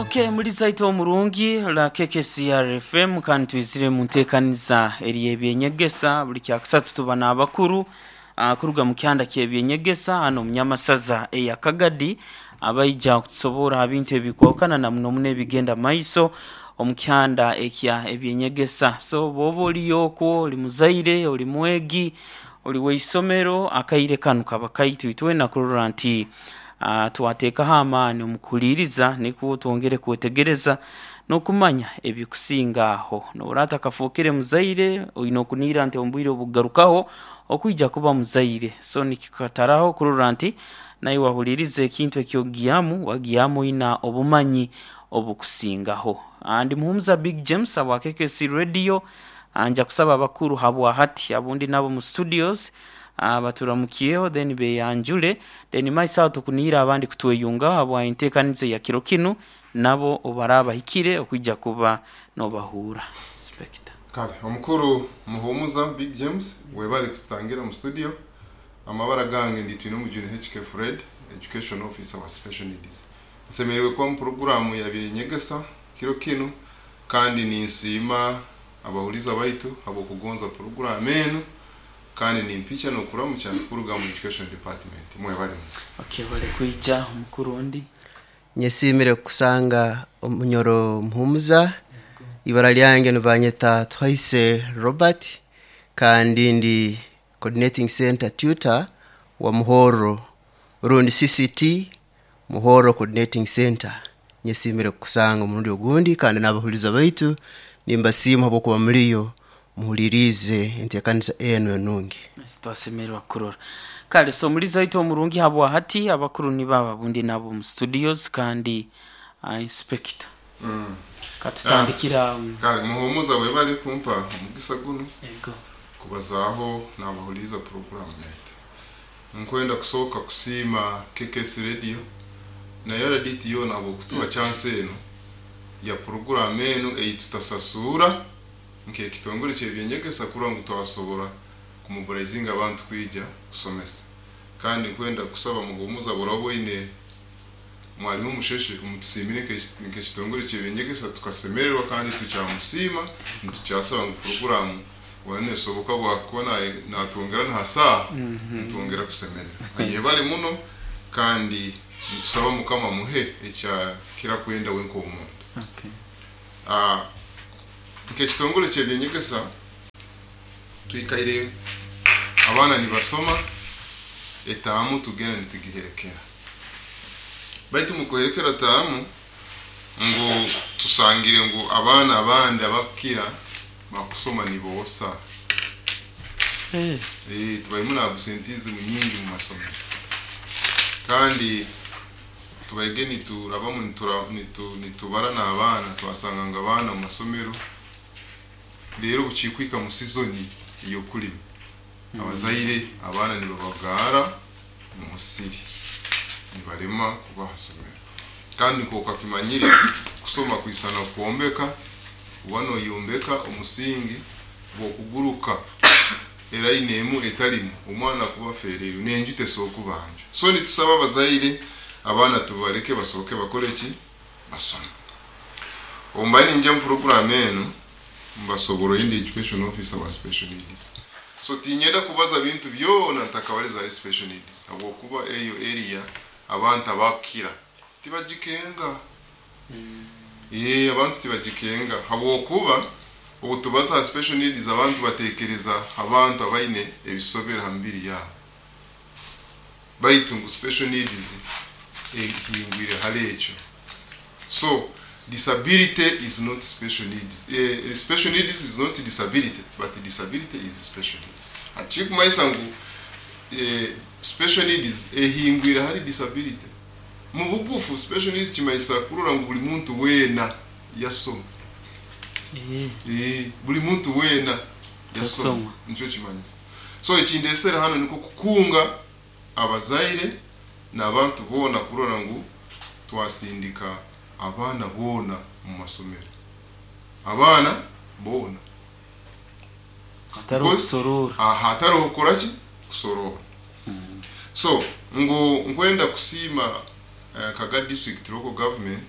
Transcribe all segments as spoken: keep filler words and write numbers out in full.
Okay, muri zaito omurungi la K K C R F M, kandi twizire mu nteekaniza eri ebyenyegesa. Buli kyakusatu tuba n'abakuru uh, kuruga mu kyanda ky'ebyenyegesa hano Munyamasaza eya Kagadi, abaija kutusobora ha bintu ebikwahukana na muno muno ebigenda maiso omu kyanda ekya ebyenyegesa. So bwoba oliyo okwo, oli muzaire, oli mwegi, oli w'eisomero, akaire kanu kaba kaitu itwena kurora nti uh, twateekaho amaani omu kuhuliiriza, nikwo twongere kwetegereza n'okumanya ebikusinga aho. Noora atakafookere muzaire, oine okuniira nti omu bwire obukugarukaho okwija kuba muzaire. So nikikataraho kurora nti naiwe wahuliriza ekintu ekyogyamu, wagyamu oina obumanyi obukusingaho. Ndi Muhumuza Big James abwa K K C Radio. Nja kusaba abakuru habwa hati abundi nabo mu studios baturamukyeho, then beyanjule, then maiso aho tukuniire abandi kutweyungaho habwa enteekaniza ya kiro kinu, nabo obaraba bahikire okwija kuba nobahuura. Inspector. Kale, omukuru Muhumuza Big James, webale kututangira mu studio. Amabara gange ndi Twinomujuni H K Fred, education officer wa special needs. Nsemerewe kuba mu porogaramu ya byenyegesa kiro kinu, kandi ninsiima abahuliza baitu habwokugonza porogaramu enu, kandi nimpicha n'okuramukya kuruga mu education department. Mwebale. Okay, bale kwija, omukuru ondi. Nyesimire kusanga omunyoro Muhumuza. Ibara lyange nibanyeta Twaise Robert, kandi ndi coordinating center tutor wa Muhoro, rundi C C T Muhoro coordinating center. Nyesimire kusanga omurundi ogundi, kandi n'abahuliza baitu nimbasiima habwokuba muliyo muhulirize enteekanisa enu enungi. Twasemererwa kurora. Kale, so muliza waitu omurungi, habwa hati abakuru ni baba bundi nabo mu studios, kandi uh, inspector, mm. katutandikira um, Kale, Muhumuza, webale kumpa omugisa guno ego kubazaaho n'abahuliza porogaramu yaitu. Nkwenda kusooka kusiima K K S Radio nayo R D T yoona habwokutuha chance eno ya porogaramu enu ei tutasasuura nk'ekitongole ky'ebyenyegesa, kurora ngu twasobora kumobilizinga abantu kwija kusomesa. Kandi nkwenda kusaba Muhumuza, buraba oine mwalimu Musheshe, umutusiimire nk'eki- nk'ekitongole ky'ebyenyegesa, tukasemererwa kandi tukyamusiima. Nitukyasaba ngu porogaramu wanesoboka bwakuba naye- natwongera na saaha, nitwongera kusemererwa. Ayebale muno, kandi nitusaba Mukama muhe ekya kira kwenda we nk'omuntu. okay. Ah, nk'ekitongole ky'ebyenyegesa twikaire abaana nibasoma etaamu, tugenda nitugiherekera, baitu mukuherekera taamu ngu tusangire ngu abaana abandi abakira bakusoma niboosa. Eh, Eh, tubaimu na absenteeism nyingi mu masomero, kandi tubaige niturabamu nitura- nitu- nitubara n'abaana, twasanga nga abaana mu masomero rero bukikwika mu sizoni eyokulima, abazaire abaana nibabagara mu musiri, nibalema kubaha somero. Kandi nk'okakimanyire, kusoma kwisana kwombeka. Uba noyombeka omusingi, bwokuguruka eraini emu etalimu, omwana kuba feereyo nenju tesookubanja. So nitusaba abazaire, abaana tubaleke basooke bakole ki? Basome. Omba ninja mu porogaramu eno, mbasobora indi education officer wa special needs, so tinyenda kubaza bintu byona ntakabaliza special needs, habwokuba eyo area abantu abakira tibagikenga. Ye abantu tibagikenga, habwokuba ubu tubaza ha special needs, abantu batekereza abantu abaine ebisobera ha mibiri yabo, baitu ngu special needs ehingwire hali ekyo. So disability is not special needs. eh, special needs is not disability, but disability is special needs. Achikumanyisa ngu eh, special needs ehingwire hali disability. Mu bugufu, special needs kimanyisa kurora ngu buli muntu weena yasoma. Eh, Eh, buli muntu weena yasoma. Yasoma. Nikyo kimanyisa. So ekindesera hano niko kukunga abazaire n'abantu boona kurora ngu twasindika abaana boona mu masomero, abaana boona. Atari okusorora. Aha, hatariho kukora ki? Kusorora. So ngu nkwenda kusiima uh, Kaga District Local Government.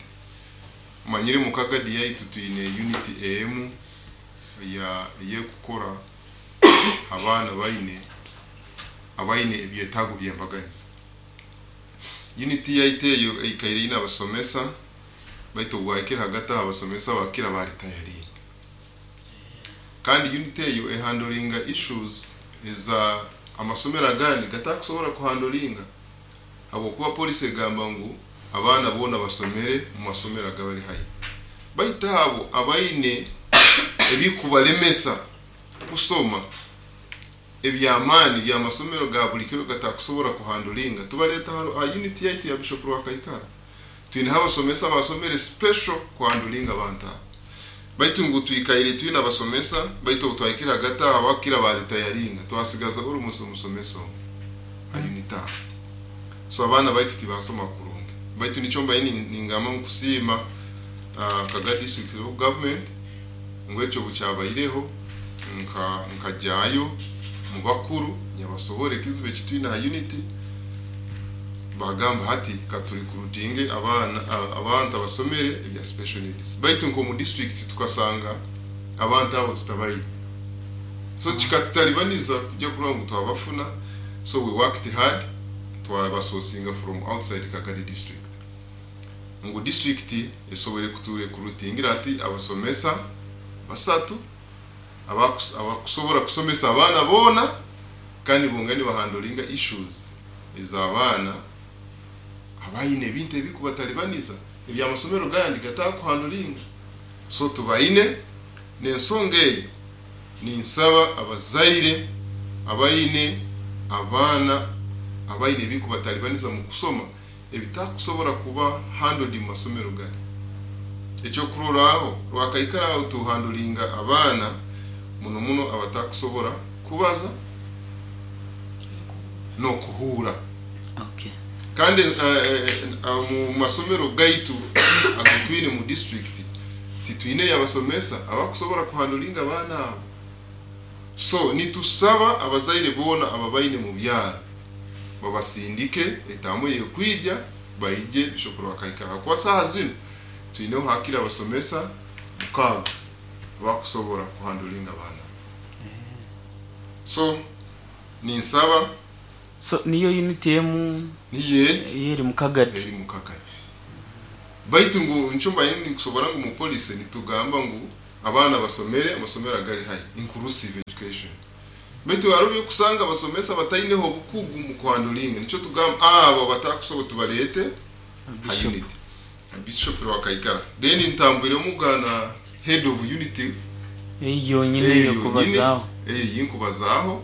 Manyire mu Kagadi yaitu twine unit emu ya eyekukora abaana baine abaine ebyetaago by'embaganiza. Unit yaitu eyo eikaire ine abasomesa, baitu obwahikire hagati aho abasomesa bakira baritayaringa. Kandi unit eyo ehandolinga issues eza amasomero agandi gatakusobora kuhandolinga, habwokuba polisi egamba ngu abaana boona basomere mu masomero agabali haihi. Baitu abo abaine ebikubalemesa kusoma ebyamaani by'amasomero ga buli kiro gatakusobora kuhandolinga, tubaleta ha unit yaitu ya Bishop Rwakaikara. Twineho abasomesa basomere special kuhandolinga abantu abo. Baitu ngu twikaire twine abasomesa, baitu obu twahikire hagati aho abakira baritayaringa, twasigaza almost omusomesa omwe ha unit aho. So abaana baitu tibasoma kurungi. Baitu nikyo mbaire ningamba nkusiima uh, Kagadi District Local Government ngu ekyo bukyabaireho nka nkajyayo mu bakuru nyabasobora ekizibu ekitwine ha unit, bagamba hati katurikurutinge abaana abantu abasomere ebya special needs. Baitu nko mu district tukasanga abantu abo tutabaine, so kikatutalibaniza kujya kuraba ngu twabafuna. So we worked hard, twabasourcinga from outside Kagadi district ngu district esobole kuturekrutingira ati abasomesa basatu abakusobora kusomesa abaana boona, kandi bongani bahandolinga issues ez'abaana abaine ebintu ebikubatalibaniza ebyamasomero gandi gatakuhandolinga. So tubaine n'ensonga eyo, ninsaba abazaire abaine abaana abaine ebikubatalibaniza mu kusoma ebitakusobora kuba handled mu masomero gandi. Ekyokurorraho Rwakaikara aho tuhandolinga abaana muno muno abatakusobora kubaza n'okuhuura. Okay. Kandi uh, uh, mu masomero gaitu agatwine mu district titwine abasomesa abakusobora kuhandolinga abaana abo. So nitusaba abazaire boona ababaine mu byaro babasindike etamu yekwija baije Bishop Rwakaikara. Kwa saha zino twineho hakira abasomesa mukaaga abakusobora kuhandolinga abaana. So ninsaba So niyo unit emu niyo egi eri mu Kagadi, eri mu Kagadi. Baitu ngu nchumba yindi nkusobora ngu mu policy nitugamba ngu abaana basomere amasomero agali high inclusive education. Baitu hariho kusanga abasomesa bataineho obukugu mu kuhandolinga, nico tugamba abo batakusobola tubalete ha unit Bishop Rwakaikara. Then ntambwire mugana head of unit eyo nyine yo kubazaho, eh yinkubazaho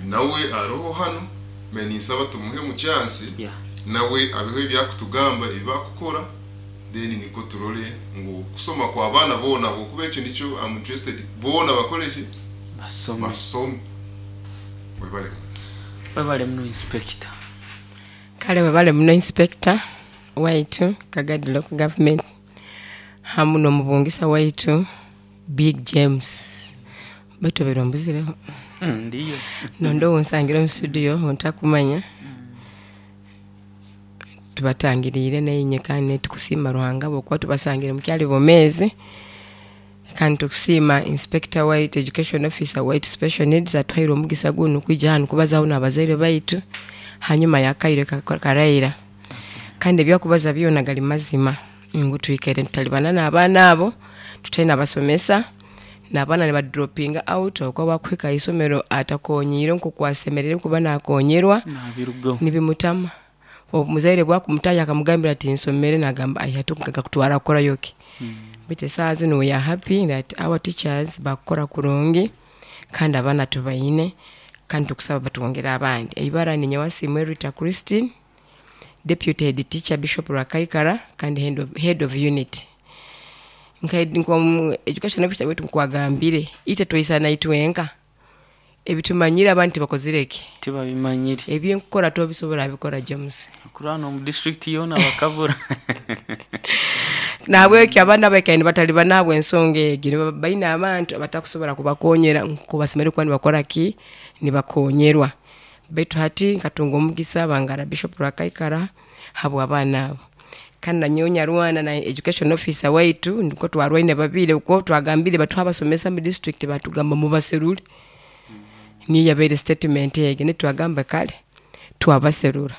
nawe aroho hano menisaba tumuhe mu chance yeah. Nawe abeho ebyakutugamba ebakukora, then niko turole ngu kusoma kwa abaana boona, kuba ekyo nikyo I'm interested boona bakoreshe basome basome. Webale webale muno inspector. Kale webale muno inspector waitu Kagadi Local Government hamu n'omubungisa waitu Big James. Baitu obeera ombuzireho. Mm, ndiyo Nondo onsangira omu studio ontakumanya. Tubatangiriire neinye kandi tukusiima Ruhanga bwokuba tubasangire mukyali bomezi. Kandi tukusiima Inspector White, Education Officer White Special Needs atwaire omugisa guno kwija hanu kubazaho n'abazaire baitu hanyuma yakaire karaira. Kandi ebyakubaza byona gali mazima ngu twikaire tutalibana n'abaana abo, tutaine abasomesa n'abaana nibadropinga out okuba bakuhika isomero atakonyiire nk'okwasemerere kuba nakonyerwa nabirugaho nibimutama. Omuzaire bwakumutaya akamugambira ati nsomere, nagamba ai hati nkakutwara kukorayo ki. Baitu esaaha zinu we are happy that our teachers bakukora kurungi kandi abaana tubaine kandi tukusaba batwongere abandi. Eibara ni Nyawasiimwe Rita Christine, Deputy Head Teacher Bishop Rwakaikara kandi head of, head of unit. Nka nko education officer wetu nkwagambire ite twaisana itwenka ebitumanyire abantu bakozireke tibabimanyire ebyenkukora tobisobora bikora James. Kurano mu district yona bakabura. Nahabwekyo abaana baikaire batali nabwo ensonga egi baine abantu abatakusobora kubakonyera nkubasemere kuba nibakora ki nibakonyerwa. Baitu hati nkatunga omugisa bangara Bishop Rwakaikara habwa abaana abo. Kandi nanyowe nyarwana na education officer waitu, niko twarwaine babiri, uko twagambire batuha abasomesa mu district batugamba mubaserure. Niyo yabaire statement egi, nitwagamba kale twabaserura.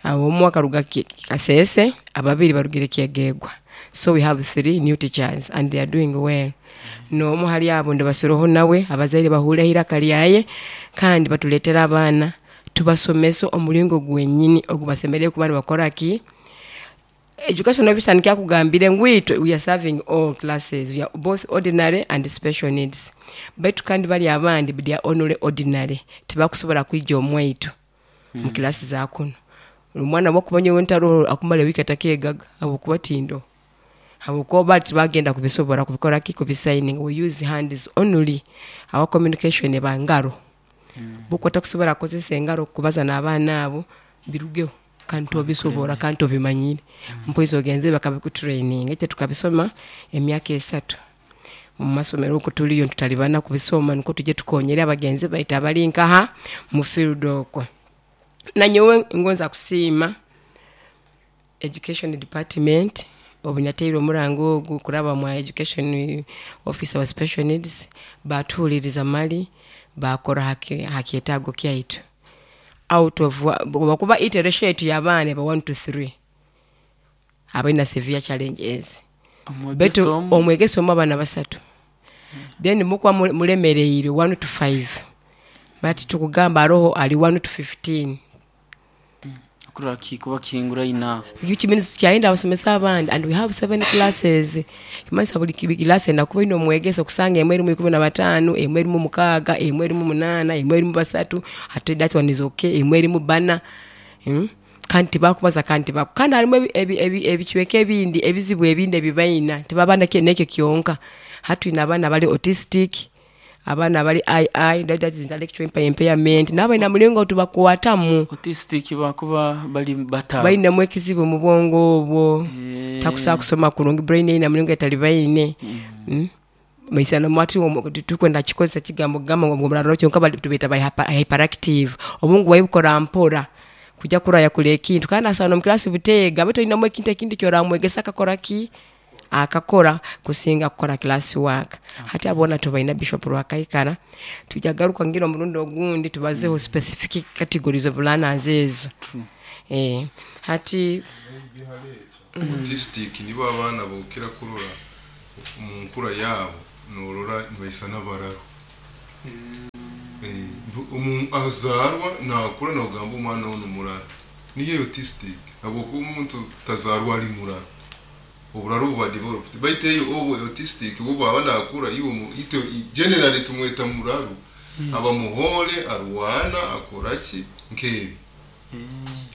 Awo omwe akaruga Ki-, Kasese, ababiri barugire Kyegegwa. So we have three new teachers and they are doing well. N'omu hali abo ndibasiroho nawe, abazaire bahureho iraka lyaye, kandi batuleetera abaana tubasomese omuringo gwenyini ogubasemereire kuba nibakora ki. Education officer nikyakugambire ngu itwe we are serving all classes, we are both ordinary and special needs. Baitu kandi bali abandi they are only ordinary, tibakusobola kwija omwaitu mu kilasi za kuno. Omwana bwakuba nyowe ntaroho akumara wiiki atakeegaga habwokuba tindo, habwokuba bali tibagenda kubisobora kubikora ki, kubisigning. We use hands only, our communication eba ngaro. Buko takusobola kukozesa engaro kubaza n'abaana abo birugeho, kandi tobisobora kandi tobimanyire. Mpoizi ogenze bakabikutraining, ete tukabisoma emyaka esatu mu masomero uko tuliyo tutalibana kubisoma, niko tuje tukonyere abagenzi baitu abali nkaha mu field okwo. Nanyowe ngonza kusiima education department obunyateire omurango ogu kuraba mu education officer wa special needs, batuhuliriza mali bakora haki, hakyetaago kyaitu. Out of wakuba iteration yetu y'abaana eba one to three abalina severe challenges. Omwegesa Betu omu? omwegesa omu abaana basatu. Then mukwa mule-, mulemereire one to five, but tukugamba aroho ali one to fifteen. Kurora kikuba kingura ina. Which means kyayenda abasomesa abandi, and we have seven classes. Kimanyisa buli ki-, class enda kuba ine omwegesa okusanga emwe erimu ikumi na bataano, emwe erimu mukaaga, emwe erimu munaana, emwe erimu basatu, ate that one is okay, emwe erimu bana. Hmm? Kandi tibakubaza, kandi tibaku-, kandi harimu ebi-, ebi-, ebi-, ebicweka ebindi, ebizibu ebindi ebibaina, tibaba nake-, nekyo kyonka. Hati twine abaana abali autistic, abaana abali I I, that is intellectual impairment, n'abalina mulingo tubakwatamu. Autistic bakuba bali bata. Balinamu ekizibu mu bwongo obwo. Eh. Takusobola kusoma kurungi, brain eyina mulingo etali baine. Mm. Mm. Maisana mwati omu, tukwenda kikozesa kigambo kugamba ngu omuraro kyonka bali tubeeta ba hyper-, hyperactive. Obwongo bwabukora mpora. Kujja kuraya kula ekintu. Kandi asana omu class buteega, baitu olinamu ekintu ekindi ky'oramwegesa akakora ki? Akakora kusinga kukora class work. Hati abona tubaina Bishop Rwakaikara, tujagaruka ngira omurundi ogundi tubazeho specific categories of learners ezo. True. Eh, hati autistic nibo abaana bokera kurora mu nkura yabo norora nibaisa n'abararo. Eh, omu azarwa nakura nogamba omwana ono muraro. Niye autistic habwokuba omuntu tazarwa ari muraro. Oburaro buba developed. Baitu eyo obu autistic bwo bwaba nakura iwe mu ito generally tumweta muraro. Mm. Aba muhole arwana akora ki nkebi. Mm.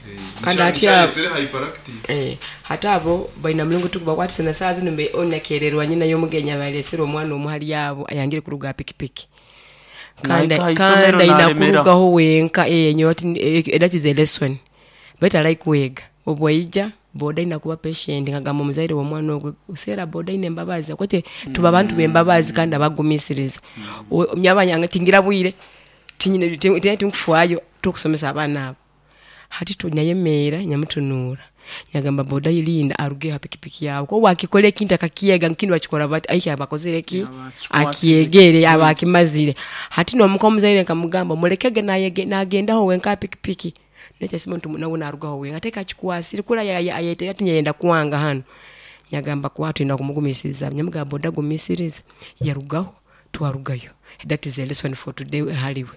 Eh, Kandi nisha- ati nisha abo- yesere hyperactive. Eh, hata abo baina mulungu tukubakwatisa na saa zino mbe onakererwa nyina y'omugenya balesera omwana omu hali abo ayangire kuruga pikipiki. Kandi Naika kandi isomero ayina nalemera. kurugaho wenka, eh, nyo ati, eh, that is a lesson. Better like kwega. Obwaija boda ina kuba patient ngagamba omuzaire w'omwana ogwo usera boda ine embabazi akwete tuba abantu b'embabazi kandi abagumisiriza. O-, myabanya tingira bwire tinyine tinkufwayo tukusomesa abaana abo. Hati tunyayemeera nyamutunuura nyagamba boda yilinda aruge ha pikipiki yawe ko wakikora ekintu akakiega nkindi bakikora bati aiki abakozere ki Aba akikwasize. akiegere aba akimazire. Hati nomuka omuzaire nkamugamba mulekege nayege nagendaho wenka pikipiki nekyasima nti nawe narugaho wenka ate kakikwasire kula ya-, ya-, ayetera tinyenda kwanga hano. Nyagamba kwatu ina kumugumisiriza nyamugamba boda gumisiriza yarugaho twarugayo. That is a lesson for today haliwe.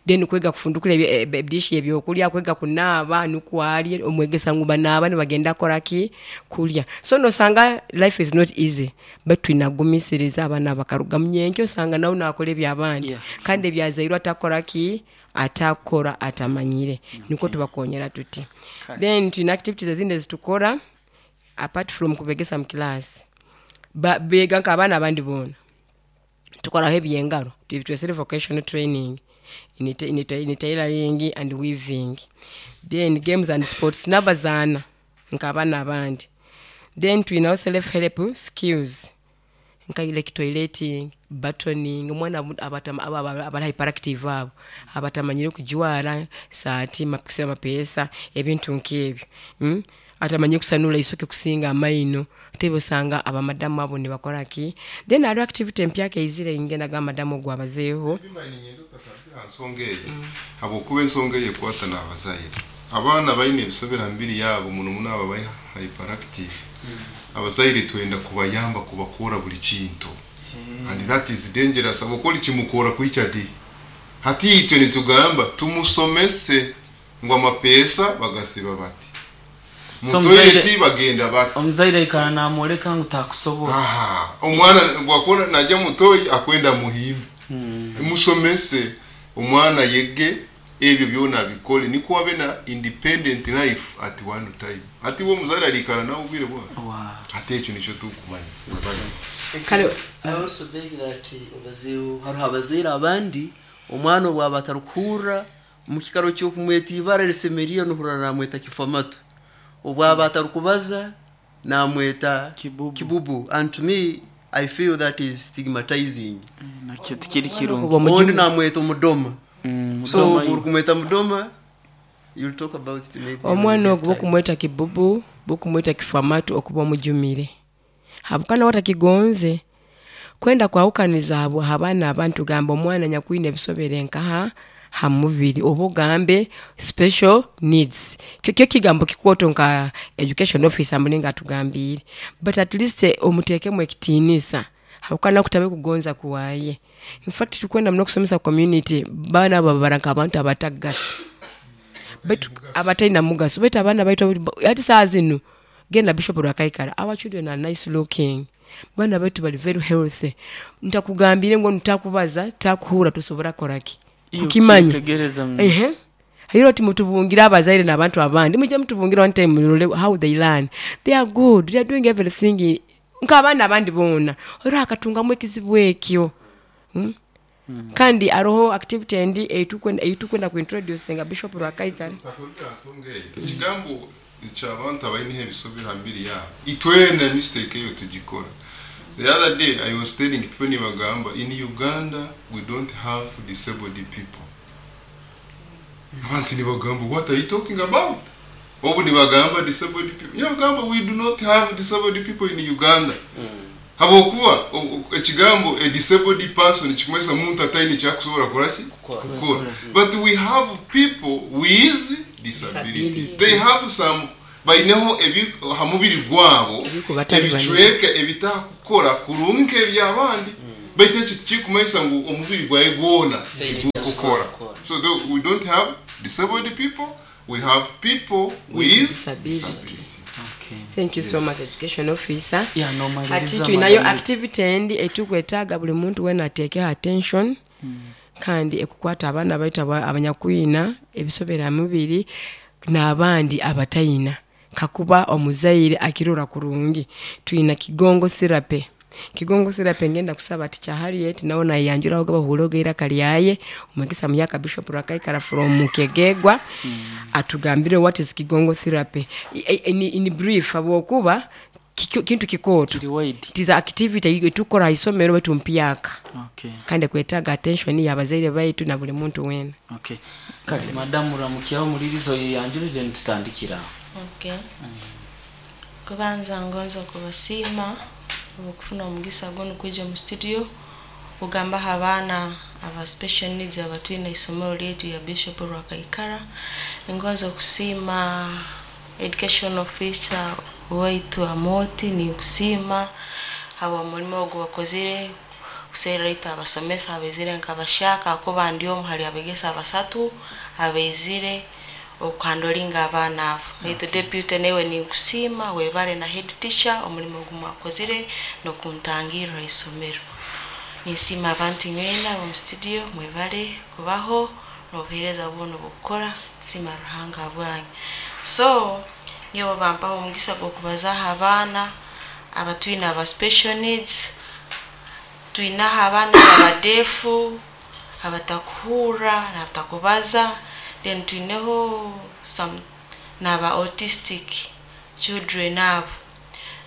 Then kwega kufundukula ebye-, ebye-, ebidishi ebyokulya, kwega kunaaba nukwali omwegesa ngu banaaba nibagenda kora ki kulya. So nosanga life is not easy but twinagumisiriza abaana bakaruga munyenkyo osanga nawe nakora ebyabandi. Yeah. Kandi ebyazairwe atakora ki atakora atamanyire. Okay. Niko tubakonyera tuti. Kale. Then twina activities ezindi ezitukora apart from kubegesa mu class. Ba-, bega nk'abaana abandi boona. Tukoraho ebyengaro, twesere vocational training in, in, in tailoring and weaving. Then games and sports nabazaana nk'abaana abandi. Then twinaho self help skills nka like toileting, buttoning, omwana abu-, abatama-, aba-, aba-, abali hyperactive abo abatamanyire kujwara saati, mapikisa, amapeesa, ebintu nk'ebyo. Mm? Atamanye kusanula isoke kusinga amaino, tebe osanga abamadamu abo nibakora ki. Then hariho activity empyaka eizire ingenda ga madamu ogwo abazeeho. Nsonga eyo habwokuba ensonga eyo ekwata n'abazaire. Abaana baine ebisobera mibiri yabo, muno muno abo abari hyperactive. Abazaire twenda kubayamba kubakora buli kintu, and that is dangerous, habwokuba kimukora kwikya di. Hati itwe nitugamba tumusomese ngu amapeesa bagasiba bati, So mu toilet omuzaire- bagenda bati. Omuzaire aikara namwoleka ngu takusobola. Aha, omwana gwakona najya mutoyi akwenda muhimbe. Musomese omwana yege ebyo byona abikole, niko abe na independent life at one time. Ati wo muzaire alikara nawe obwire bwa Wow. ate ekyo nikyo tukumanyisa. Kale- I also beg that obazeeho, hariho abazaire abandi omwana obwaba atarikuhurra, mu kikaro ky'okumweta ibara erisemeriire nohurra namweta kifamatu, obwaba atarikubaza namweta Kibubu. Kibubu. And to me I feel that is stigmatizing. Nakyo tikiri kirungi. Okuba omujumu. Ondi namweta omudoma. Mm, So mudoma uri kumweta mudoma, you'll talk about it maybe when we Omwana get ogwo time. bokumweta kibubu, bokumweta kifamatu, okuba omujumire habukana watakigonze kwenda kwawukaniza abo abaana abantu. Gamba omwana nyakwine ebisobere nkaha ha mubiri, oba ogambe special needs. Kyo kyo kigambo kikwoto nka education officer mulinga atugambiire, but at least eh, omuteekemu ekitiinisa habukana kutabe kugonza kuwaye. In fact tukwenda muno okusomesa community, baana abo babara nk'abantu abatagasa baitu abatalina mugaso. Baitu abaana baitu ati saa zinu genda Bishop Rwakaikara, our children are nice looking. Baana baitu bali very healthy. Ntakugambire ngu ntakubaza takuhura tusobora koraki Iyo kukimanya. ukitegereza mu- Ehe, hiro ati mutubungire abazaire n'abantu abandi, mujye mutubungire one time mulole how they learn. They are good, they are doing everything nk'abaana abandi boona. Oro akatungamu ekizibu ekyo. Hmm? Kandi aroho activity endi eitukwenda eitukwenda kuintroducinga Bishop Rwakaikara. Nsonga eyo, ekigambo ekyabantu abaine ebisobera mbiri yabo, itwena mistake eyo tugikora. The other day I was telling people, nibagamba in Uganda we don't have disabled people. Abantu nibagamba, "What are you talking about?" Obu nibagamba disabled people, nibagamba we do not have disabled people in Uganda, habwokuba o- o- ekigambo a disabled person kikumanyisa muntu ataine kyakusobora kuraki kukora. But we have people with disability. Disability. They have some, baineho ebi ha mubiri gwabo Ebikubatali. ebicweka ebitakukora kurungi nk'ebyabandi, baitu ekyo tikikumanyisa ngu omubiri gwawe gwona tikukukora. So though we don't have disabled people, we have people with disability. disability. Okay. Thank you so much, education officer. Yeah, Hati nomaliriza, tulinayo madam. Activity endi etukwetaaga buli muntu wena ateekeho attention, kandi ekukwata abaana baitu aba- abanyakwina ebisobera mubiri n'abandi abatayina, kakuba omuzaire akirora kurungi. Tuyina kigongo therapy. Kigongo therapy, ngenda kusaba ati kya Harriet nawe nayanjuraho gabahuloga iraka lyaye, omwegesa muyaka Bishop Rwakaikara from Kegegwa, atugambire what is kigongo therapy. I- I- in, in brief, habwokuba kiki- kintu kikooto. Kiri wide. Tiza activity etukora haisomero baitu mpyaka, Okay. kandi kwetaaga attention y'abazaire baitu na buli muntu wena. Okay. Kale madamu ramukyaho mulirizo yeyanjulire nitutandikira aho. Okay. Kubanza ngonza kubasiima okufuna omugisa guno kwija mu studio kugambaho abaana aba special needs abatwine isomero lyaitu ya Bishop Rwakaikara. Ningonza okusiima education officer waitu Amoti, ninkusiima habwa mulimo ogu bakozire kuserra itwe abasomesa abaizire nkabashaka, kuba ndi omu hali abegesa abasatu abaizire okuhandolinga abaana abo. Baitu deputy newe ninkusiima, webale, na head teacher omulimo ogu mwakozire n'okuntangirra isomero. Ninsiima abantu nywena omu studio, mwebale kubaho n'obuheereza bwona obukukora. Nsiima Ruhanga bwanyu. So nyowe bampaho omugisa gw'okubazaaho abaana abatwine aba special needs. Twinaho abaana abadeefu, abatakuhurra n'abatakubaza, then twineho some n'aba autistic children abo.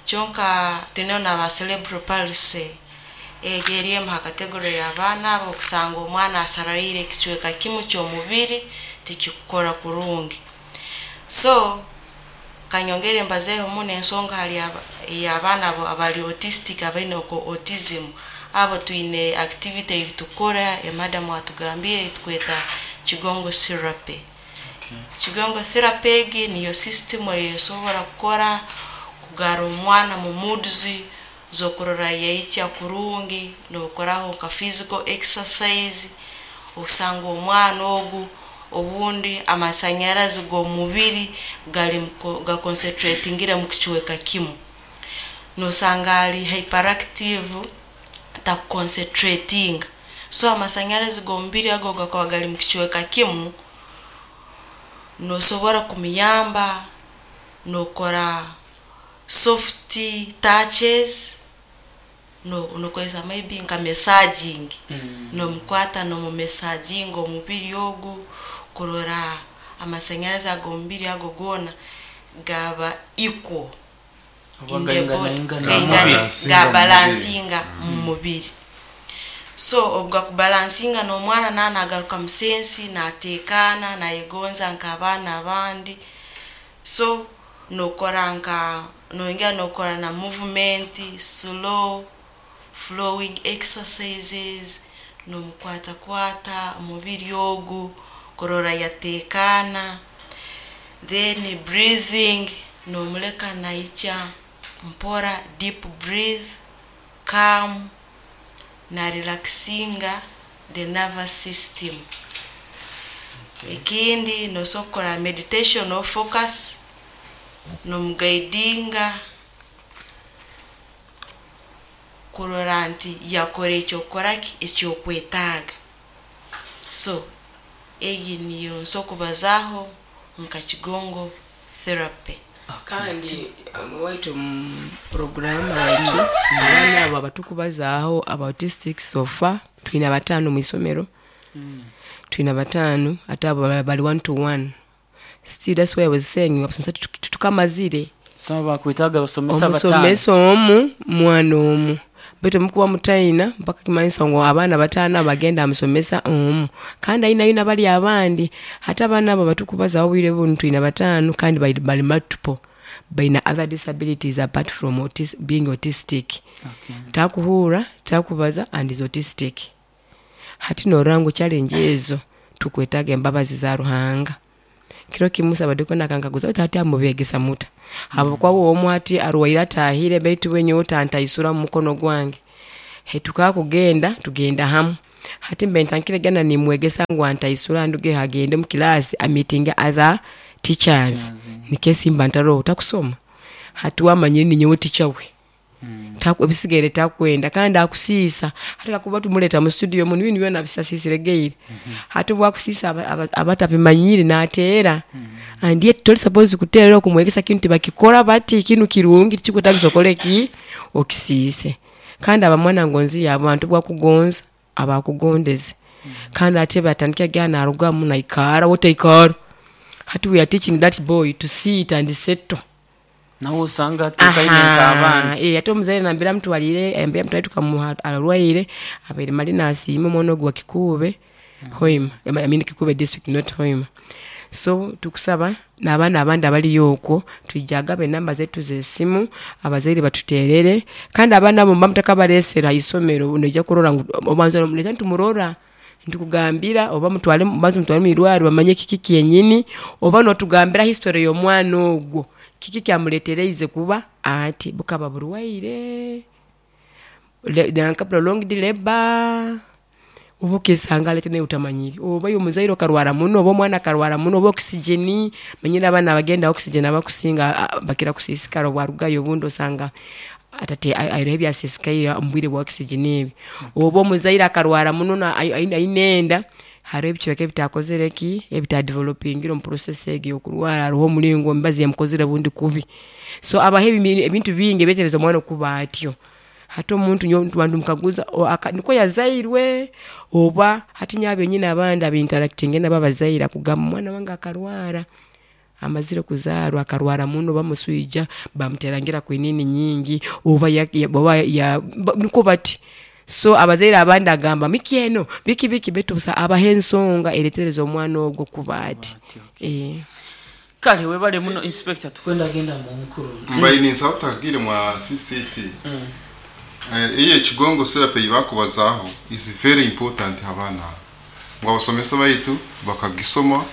Kyonka twineho n'aba cerebral palsy. Egyo eri emu ha category y'abaana abo okusanga omwana asarariire ekicweka kimu ky'omubiri tikikukora kurungi. So Kanyongere mbazeeho muno ensonga hali aba- ey'abaana abo abali autistic, abaine oko autism. Abo twine activity ei tukora, emadamu atugambire, tukweta kigongo therapy. Kigongo therapy egi niyo system eyosobora kukora kugara omwana mu moods z'okurora yaikya kurungi, n'okoraho nka physical exercise. Osanga omwana ogu obundi amasanyarazi g'omubiri gali muko- gaconcentratingire mu kicweka kimu, nosanga ali hyperactive, takuconcentrating. So amasanyarazi g'omubiri ago gakaba gali mu kicweka kimu, nosobora kumuyamba nokora soft touches, no nokozesa maybe nka massaging, Mm. nomukwata nomumassaging omubiri ogu kurora amasanyarazi ag'omubiri ago goona gaba equal Oba in the body. gainganaingana Gaingana- mu mubiri. Gabalansinga mu gabalansinga mu mubiri. So obu gakubalansinga, n'omwana naa nagaruka mu sensi, nateekaana, nayegonza nk'abaana abandi. So nokora nka nongera nokora na movement, slow flowing exercises, nomukwatakwata omubiri ogu kurora yateekaana. Then breathing, nomuleka naikya mpora, deep breathe, calm na relaxinga the nervous system. Ekindi, nosobola kukora meditation or focus, nomuguidinga kurora nti yakora ekyokukoraki ekyokwetaaga. So egi niyo nso kubazaaho nka kigongo therapy. Kandi um, waitu mu programu waitu, abaana abo abatukubazaaho aba autistic, so far twine bataano mu isomero, twine bataano, ate abo bali- bali one to one. Still, that's why I was saying abasomesa tutu- tukamazire. Soma bakwetaaga basomesa bataano. Omusomesa omu, mwana omu, baitu mukuba mutaina mpaka kimanyisa ngu abaana bataano abagenda amusomesa omu, kandi ayinayo nabali abandi. Hati abaana abo batukubazaho obwire bunu twina bataano, kandi bali, bali multiple, baina other disabilities apart from autis, being autistic. Okay. Takuhuura, takubaza and is autistic. Hati norora ngu challenge ezo tukwetaaga embabazi za Ruhanga. Kiro kimu sabadeko nakankaguza, "Baitu ati amubegesa muta habwokuba omu ati arwaire atahire, baitu wenyewe otantaisura mu mukono gwange?" Hetukakugenda tugenda hamu. Hati mbe ntankire gana nimwegesa ngu antaisura, nduge agende mu kilasi ameeting other teachers, nikesimba ntaroho takusoma. Hati wamanyire ninyowe teacher we. Mm. Taku- ebisigaire takwenda kandi akusiisa. Hati kakuba tumuleta mu studio muno, ibintu byona bisasisire geire. Hati bwakusiisa aba- aba- abatabimanyire nateera, and yet toli supposed kuteera okumwegesa kintu tibakikora bati kinu kirungi, tikikwetagisa okole ki okisiise. Kandi abamwana ngonzi yabantu bwakugonza abakugondeze, kandi ate batandika gana narugamu naikara wotaikara. Hati we are teaching that boy to sit and settle. Nawe osanga atekaine nk'abandi. Eh, ate omuzaire nambira mutwalire, ambira mutwalire tukamuha arwaire abaire mali nasiima omwana ogu wa Kikuube Hoima, I mean Kikuube district, not Hoima. So tukusaba n'abaana abandi abaliyo okwo, twijagaba enamba zetu z'esimu, abazaire batuterere. Kandi abaana abo muba mutakabaresera haisomero, noija kurora ngu obanza nomuleta nitumurora, ntukugambira oba mutwale, banza mutwale mwirwariro bamanye kiki kyenyini, oba notugambira history y'omwana ogwo, kiki kyamuletereize kuba ati, bukaba burwaire Le- nanka prolonged labor, oba okesanga alete naye utamanyire, oba omuzaire okarwara muno, oba omwana akarwara muno, oba oxygen. Manyire abaana abagenda oxygen abakusinga a- bakira kusiisikara obwarugayo, obundi osanga atate aireho ebyasisikaire omu bwire bwa oxygen ebi, oba omuzaire akarwara muno na- ai- ai- aine enda, hariho ebicweka ebitakozere ki, ebitadevelopingire omu process egi yokurwara, hariho omuringo emibazi emukozire bundi kubi. So abaho ebimi- ebintu bingi ebyetereza omwana okuba atyo. Hati omuntu nyowe bantu mukaguza o- aka- niko yazairwe oba. Hati nyowe abenyini abandi abinteractinge nabo abazaire akugamba, "Omwana wange akarwara amazire kuzaarwa, akarwara muno, bamuswija, bamuterangira kwinini nyingi, oba ya, ya, oba ya, ba, niko bati." So abazaire abandi agamba miki eno biki biki, baitu busa abaha ensonga eretereza omwana ogwo kuba ati. Ati, okay. Eh. Kale webale muno inspector, tukwenda genda mu mukuru. Mbaye ninsaba utagire mwa C C T. Eh, iyo kigongo therapy bakubazaho is very important. Abana ngo abasomesa baitu bakagisoma,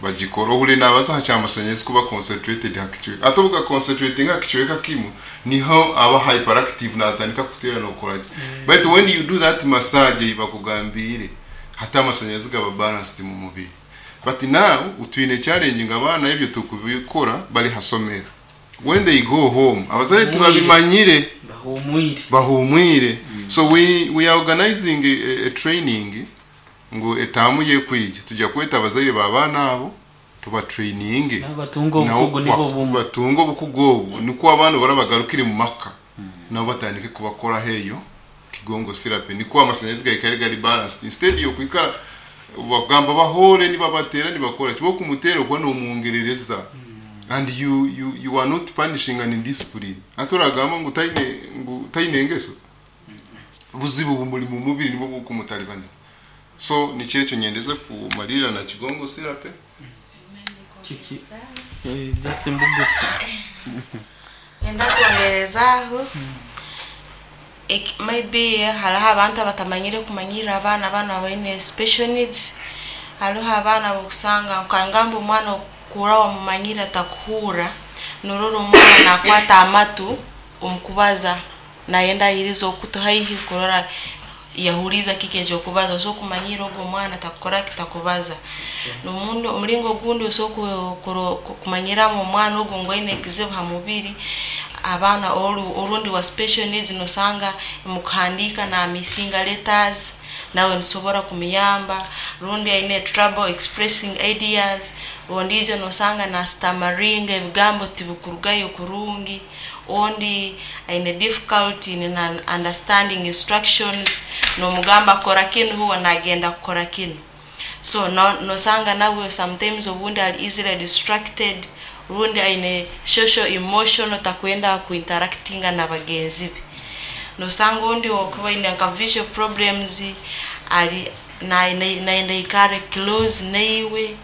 bagikora ohuri nabaza hacyamashanyarazi kuba concentrated hakichweka atobuka concentrating hakichweka kimu niho aba hyperactive natandika kutera no kora. But when you do that massage bakugambire, hata amashanyarazi gaba balanced mu mubiri. But now utwine challenge ngo abana ibyo tukubikora bari hasomero, when they go home abazare tubabimanyire. Bahumwire. Bahumwire. So we we are organizing a, a training ngo etamu ye kwija tujya kweta abazaire babana abo tuba training. N'abatunga obukugu nibo bumwe. Batunga obukugu obu niko abana barabagarukire mu maka nabo batandike kubakora heyo kigongo therapy, niko amasanyarazi gari gari balanced instead yo kwikara bagamba bahore nibabatera nibakora kibo kumutera kuba nomwongerereza. And you you you are not punishing an indiscipline. Aturagamba ngo taine ngo taine engeso buzibu bumuli mu mubiri nibwo bukumutalibaniza. So nikyekyo nyendeze kumalira na kigongo therapy. Kiki eh, just mbugufu. Ngenda kwongerezaaho. Ek- maybe hariho abantu abatamanyire kumanyirira abaana, abaana baine special needs. Hariho abaana bokusanga nkangamba omwana okura wamumanyire atakuhurra, norora omwana nakwata amatu omukubaza, nayenda ayiriza okutu haihi kurora yahuriza kiki ekyokubaza. Osobola kumanyira ogwo omwana takukora kitakubaza. Nomundi omulingo ogundi osobola ku- ku- kumanyiramu omwana ogwo ngu aine ekizibu ha mubiri, abaana oru- orundi wa special needs, nosanga mukuhandiika namisinga letters, nawe nisobora kumuyamba. Rundi aine trouble expressing ideas, ondiijo nosanga nastammeringa, ebigambo tibikurugayo kurungi. Ondi aine difficulty in understanding instructions, nomugamba kora kinu, huwa nagenda kukora kinu. So no, nosanga nawe sometimes obundi ali easily distracted, rundi aine social emotional, takwenda kuinteractinga na bagenzi be. Nosanga ondi okuba aine nka visual problems, ali na- na- naenda ikare close naiwe.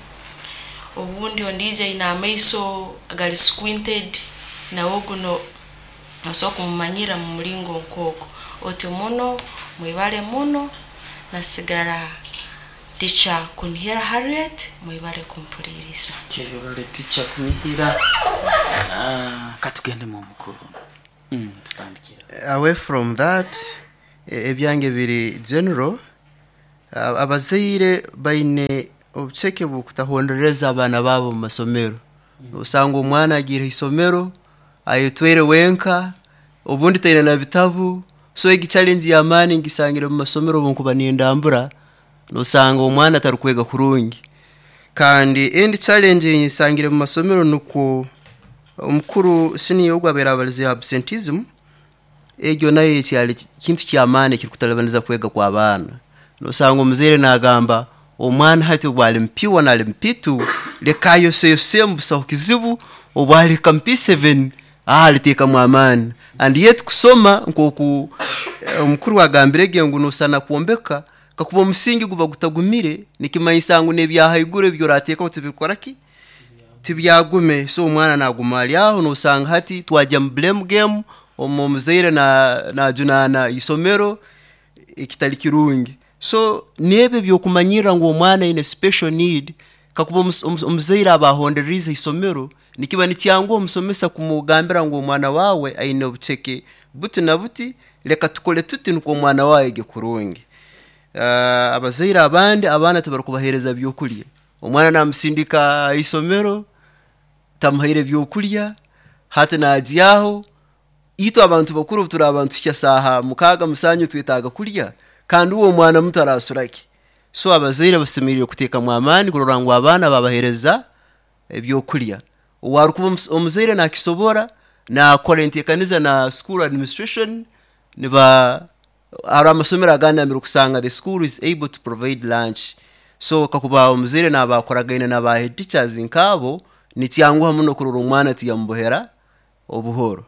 Obundi ondiija aine amaiso gali squinted, nawe guno osobola kumumanyira mu mulingo nk'ogwo. Oti muno mwibale muno, nasigara teacher Kunihira Harriet, mwibale kumpuliriza. Kyebale teacher Kunihira. Ah, katugende mu mukuru. Mm, tutandikira. Away from that, e- ebyange biri general. A- abazaire baine obuceke bwokutahondereza abaana baabo mu masomero. Osanga omwana agiire isomero ayetwere wenka, obundi taine na bitabu. So egi challenge y'amaani ngisangire mu masomero obunkuba nindambura, nosanga omwana atarikwega kurungi. Kandi endi challenge nsangire mu masomero nukwo omukuru senior ogwo abeera abalize absenteeism. Egyo nayo kyali kintu kyamaani ekirikutalibaniza kwega kw'abaana. Nosanga omuzaire nagamba omwana hati obu ali mu P one, ali mu P two, leka ayoseyose busaho kizibu, obu alihika mu P seven ah, aliteekamu amaani. And yet kusoma nkoku eh, omukuru agambire ge ngu nosana kwombeka, kakuba omusingi guba gutagumire, nikimanyisa ngu n'ebyahaiguru ebyo orateekaho tibikora ki tibyagume. So omwana naguma ali aho, nosanga hati twajya mu blame game, omu omuzaire na najunaana isomero, ekitali kirungi. So n'ebyo byokumanyirra ngu omwana aine special need, kakuba omus- omus- omuzaire aba ahondererize isomero, nikiba nikyanguha omusomesa kumugambira ngu omwana wawe aine obuceke buti na buti, leka tukole tuti nukwo omwana wawe ege kurungi. uh, abazaire abandi abaana tibarikubaheereza byokulya. Omwana namusindika isomero tamuhaire byokulya, hati najyaho. Itwe abantu bakuru turi abantu tukya saaha mukaaga musanju twetaaga kulya, kandi uwo omwana muto arasuraki? So abazaire basemerire kuteekamu amaani kurora ngu abaana babaheereza ebyokulya. Owarukuba omus- omuzaire nakisobora, nakora enteekaniza na school administration, niba hari amasomero agandi amire kusanga the school is able to provide lunch. So kakuba omuzaire naba akoragaine na ba head teachers nkabo, nikyanguha muno kurora omwana tiyamubohera obuhoro.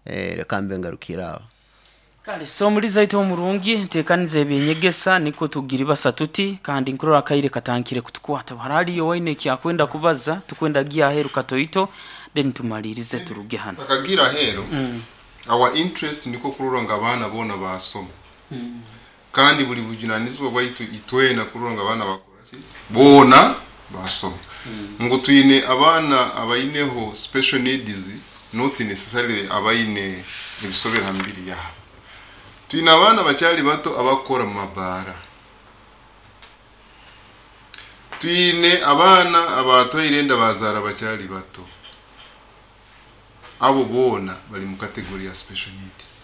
Eh, reka mbe ngarukira aho. Kale so omuliza aitu omurungi nteekaniza ebyenyegesa niko tugiri basatu ti kandi nkurora akaire katankire kutukwata haraliyo waine ekyakwenda kubaza tukwenda giya aheru katoito then tumalirize turuge hano. Bakagira ahero our interest niko kurora nga abaana boona basoma kandi buli bujunanizibwa bwaitu itwena kurora nga abaana bakora ki boona basoma ngu twine abaana abaineho special needs not necessarily abaine ebisobera ha mibiri yabo. Twine abaana bakyali bato abakora mu mabaara, twine abaana abatwaire enda bazaara bakyali bato, abo boona bali mu category ya special needs.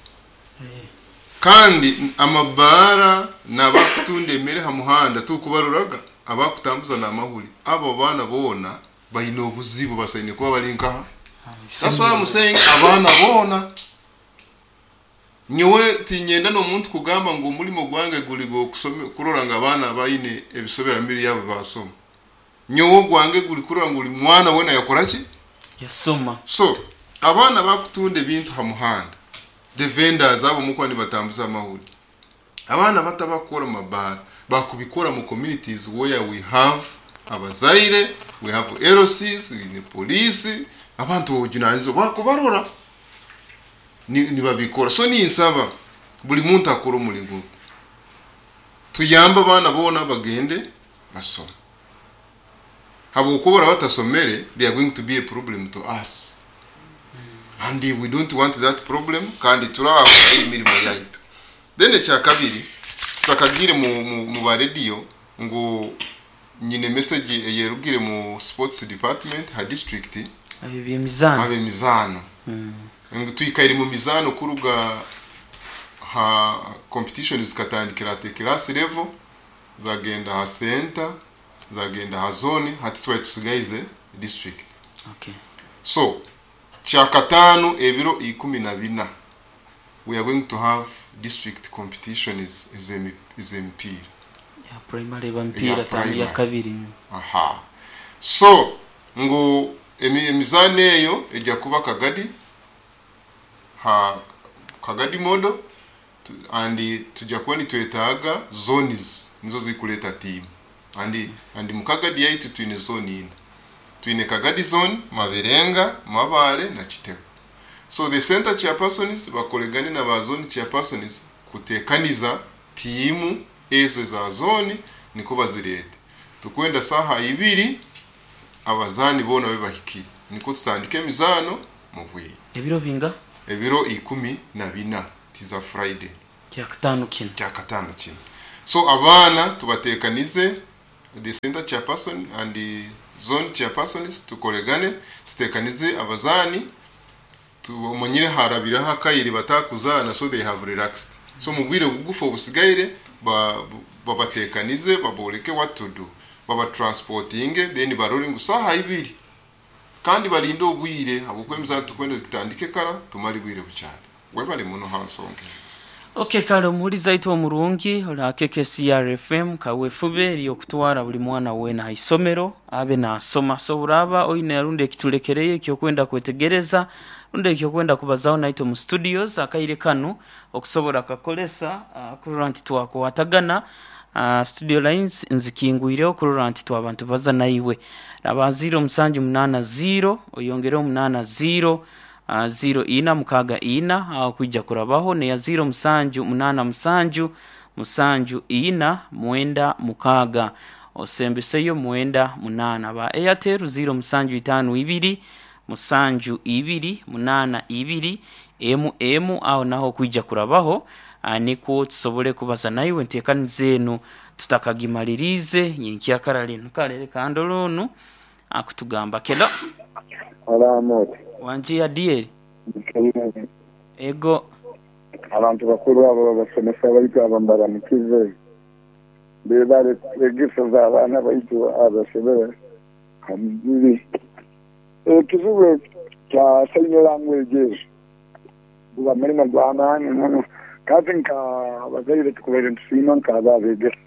Kandi amabaara n'abakutunda emere ha muhanda tukubaruraga abakutambuza n'amahuri, abo baana boona baine obuzibu basaine kuba bali nkaha. That's why I'm saying abaana boona. Nyowe tinyenda n'omuntu kugamba ngu omulimo gwange guli gw'okusome kurora nga abaana baine ebisobera mibiri yabo basoma. Nyowe gwange guli kurora ngu buli mwana wena yakora ki? Yasoma. So abaana bakutunda ebintu ha muhanda, the vendors abo mukuba nibatambuza amahuri, abaana batabakora mu mabaara bakubikora mu communities where we have abazaire, we have L Cs, we police, abantu b'obujunanizibwa bakubarora nibabikora. So ninsaba buli muntu akora omulimu tuyamba abaana boona bagende basome, habwokuba batasomere they are going to be a problem to us and we don't want that problem. Kandi turaho emirimo yaitu. Then ekyakabiri tutakagire mu, mu, mu ba radio ngu nyine message eyerugire mu sports department ha district abe ab'emizano mm. Ngu twikaire mu mizano kuruga ha competition zikatandikira at class level, zagenda ha center, zagenda ha zone, hati twari tusigaize district. Okay. So kyakatano ebiro ikumi na bina we are going to have district competitions ez'emipiira ya primary bampiira tandi ya kabiri. Aha. So ngu emizano eyo ejja kuba Kagadi ha Kagadi modo and tujja kuba nitwetaaga zones nizo zikuleta team and and mu Kagadi yaitu twine zone ina, twine Kagadi zone, Maberenga, Mabale na Kitebe. So the center chairpersons bakoregane na ba zone chairpersons kutekaniza timu ezo za zone niko bazirete. Tukwenda saha ibiri abazani bona bebahiki niko tutandike emizano mu bwire. Ebiro binga? Ebiro ikumi na bina tiza Friday kyakatano kino kyakatano kino. So abaana tubatekanize the center chairperson and the zone chairpersons tukoregane tutekanize abazani tumanyire harabiraho akayiri batakuzana, so they have relaxed. So mu bwire bugufu obusigaire babatekanize baboleke what to do, baba transporting then barori ngu saha ibiri kandi barinde obwire habwokwemizano tukwenda tutandike kara tumali bwire bucyane webali muno hansonge. Okay, kale omuhuliza aitu omurungi ola K K C R F M kawefube eriyokutwara buli mwana wena ha isomero abe nasoma. So uraba oine arundi ekitulekereye ekyokwenda kwetegereza rundi ekyokwenda kubazaho naitwe mu studios akaire kanu okusobola kakolesa uh, kurora nti twakwatagana. Uh, studio lines nzikingwireho kurora nti twabantu baza naiwe raba zero musanju munana zero oyongereho munana zero Uh, zero ina mukaga ina uh, kuija kurabaho ne ya zero musanju munana musanju musanju ina mwenda mukaga osembeseyo mwenda munana. Ba Airtel zero musanju itanu ibiri musanju ibiri munana ibiri emu emu aho naho kuija kurabaho uh, niko tusobole kubaza naiwe ntekani zenu tutakagimalirize nyenkyakara linu kalere kandolonu akutugamba kelo Alamoti wanji ya D L ego abantu bakuru abo babasomesa baitu abambaramukize bebale kwegeseza abaana baitu abasomere hamubiri. Ekizibu kya sign languages guba mulimo gw'amaanyi muno kati nka abazaire tukubaire ntusiima nk'aba abegesa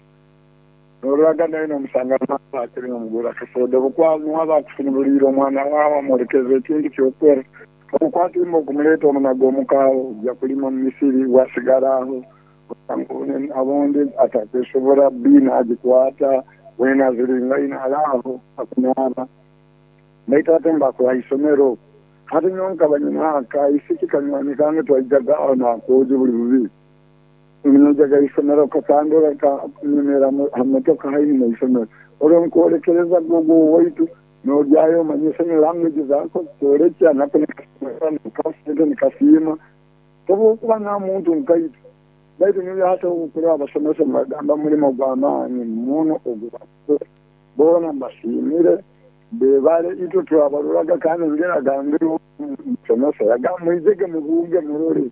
n'olwaga naye n'omusanga akiri omugura akasoda bukwamuwa bakufunulira omwana waawe amwolekeza ekintu ky'okwera Obukwata okumuleeta omunaga omukaawo ojja kulima mu misiri wasigala aho abondi atakwesobola biina agikwata wena ziringaine alaaho akunaaba baitu ate mbakora isomero hati nyonka banyina isiki kanywani kange twaijaga aho nakoje buli bubi njaga isomero kakandora kanyemera hamotoka haini na isomero olwo nkwolekereza gogo waitu nojyayo manyise ni language zako kworekya nako nikasente nikasiima tobukuba na muntu nkaitu baitu niyo hata okuraba abasomesa mbagamba mulimo gw'amaanyi muno ogubakora boona mbasiimire bebale itwe twabaruraga kandi ngera gambire omusomesa yagamba mwizege mubuuge murore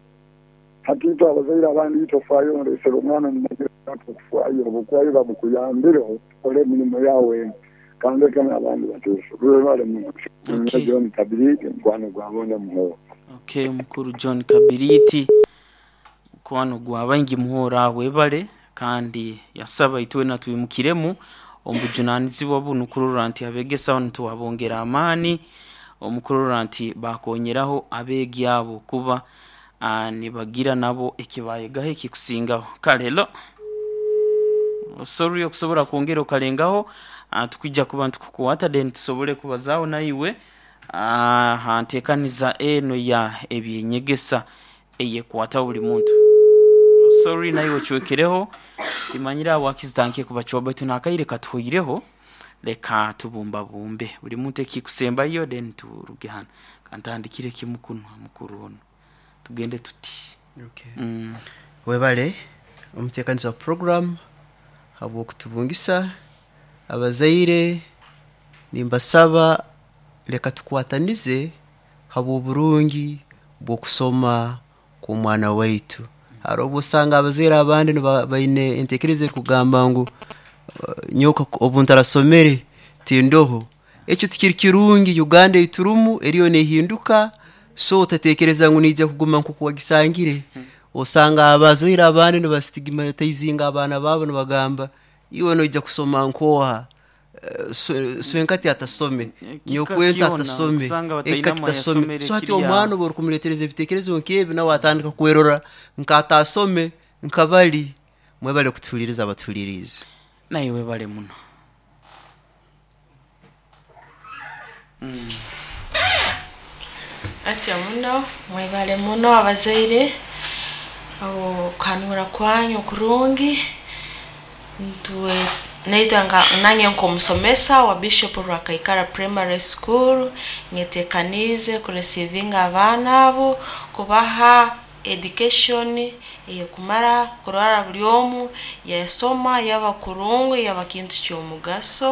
hati itwe abazaire abandi itofaayo nresera omwana mumagira okufaayo obukwayo babukuyambireho okole emirimu yawe kandi eka n'abandi bateeso rwebale muno. Okay. John Kabiriti mukwano gwabonde muhoora. Okay, mukuru John Kabiriti mukwano gwa baingi muhora webale kandi yasaba itwena twimukiremu omubujunanizibwa bunu kurora nti abegesa nituwabongera amaani omukurora nti bakonyeraho abeegi abo kuba ah, nibagira nabo ekibayegaho ekikusingaho. Kale lo sorry okusobola kwongera okalengaho ah, tukwijja kuba ntukukwata then tusobole kubazaaho naiwe ah, ha nteekaniza eno ya ebyenyegesa eyekwata buli muntu. Sorry naiwe ocwekereho timanyire aho wakizitankiye kubacwa baitu nakaire katuhoireho leka tubumbabumbe buli muntu ekikusembayo then turuge hano kantandikire kimu kunu mukuru ono tugende tuti. Okay. mm. Webale omuteekaniza wa program habw'okutubungisa abazaire nimbasaba leka tukwatanize habw'oburungi bw'okusoma kw'omwana waitu. Hariho obu osanga abazaire abandi niba- baine enteekereza erikugamba ngu uh, nyowe obu ntarasomere tindoho. Ekyo tikiri kirungi. Uganda eiturumu eriyo neehinduka, so otateekereza ngu niija kuguma nk'oku wagisangire. Osanga abazaire abandi nibastigmatizinga abaana baabo nibagamba iwe noija kusoma nkooha. Eh, swe- swenkati atasome, Ekika nyokwenta kyona, atasome, kusanga bataine eka amwe kitasome. yasomere So hati kiri aho. omwana obu orikumuleetereza ebiteekerezo nk'ebi nawe atandika kwerora nk'ataasome nkabali. Mwebale kutuhuliriza abatuhuliriize. Naye webale muno. Atya muno mwebale muno abazaire okuhanura kwanyu okurungi ntuwe naitwe nga nange nk'omusomesa wa Bishop Rwakaikara Primary School nyetekaniize kuresivinga abaana abo kubaha education eyekumara kurora buli omu yasoma yaba kurungi yaba kintu ky'omugaso.